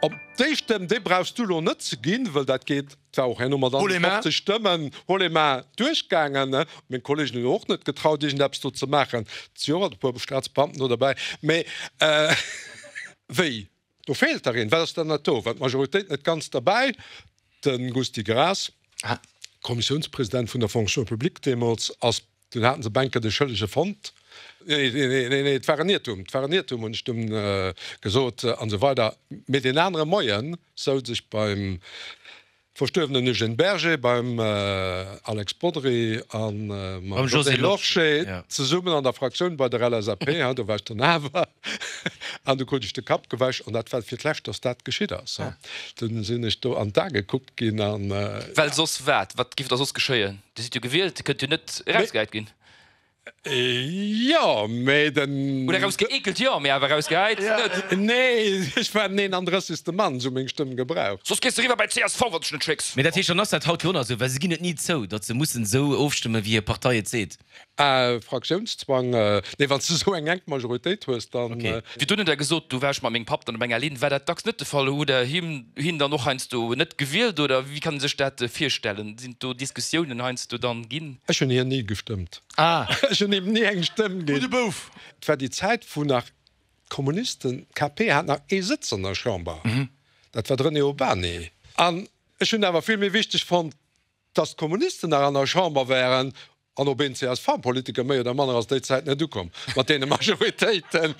Op déi Stëmm, déi brauchs du elo net ze ginn, wëll dat geet, et war och herno mat 51 Stëmmen, haut les mains, duerchgaangen. Meng Kollegen hunn och net getraut, iergendeppes do ze maachen. Et si och alt e puer Staatsbeamten do derbäi. Mee wéi? Do feelt der een. Wat ass dann dat do? War d'Majoritéit net ganz derbäi? De Gusty Graas, Kommissiounspresident vun der Fonction publique deemools, ass Dunn haten se Bänke de Schëllege fonnt. Nee, nee, nee, nee, et war en Iertum, et war en Iertum, hunn ech dunn gesot, an esou weider. Mee deen anere Moie souz ech beim verstuerwenen Eugène Berger, beim Alex Bodry a mam Josée Lorsché zesummen an der Fraktioun bei der LSAP, do war ech dann awer, an du krut ech de Kapp gewäsch an dat war fir d'lescht, datt dat geschitt ass. Dunn sinn ech do an d'A gekuckt ginn an. Well soss wat? Wat géif da soss geschéien? Dir sidd jo gewielt, Dir kënnt jo net erausgehäit ginn. Jo, mee den. Oder erausgeekelt, jo, mee awer erausgehäit net. Nee, ech war den 31. Mann, se hu meng Stëmm gebraucht. Soss gees de riwwer bei csv, wann s de dech net schécks. Mee dat heescht, dann ass dat haut jo och nach esou, well se ginn et ni zou, datt se mussen esou ofstëmmen, wéi hir Partei et seet. Ah, Fraktiounszwang, nee, wann s de esou eng enk Majoritéit hues, dann. Okay. Virdrun hutt Der gesot, du war ech mat mengem Papp dann op enger Linn. War dat dacks net de Fall? Hutt Der him, hien dann och heiansdo net gewielt oder wéi kann ee sech dat virstellen? Sinn do Diskussiounen heiansdo dann ginn? Ech hunn hien ni gestëmmt. Ah. Ech hunn him ni eng Stëmm ginn. Gudde Bouf! Et war déi Zäit, wou nach d'Kommunisten, d'KP hat nach ee Sëtz an der Chamber, dat war de René Urbany. An ech hunn awer vill méi wichteg fonnt, Datt d'Kommunisten nach an der Chamber wären an op een CSV-Politiker méi oder manner ass déi Zäit net ukomm mat deene Majoritéiten.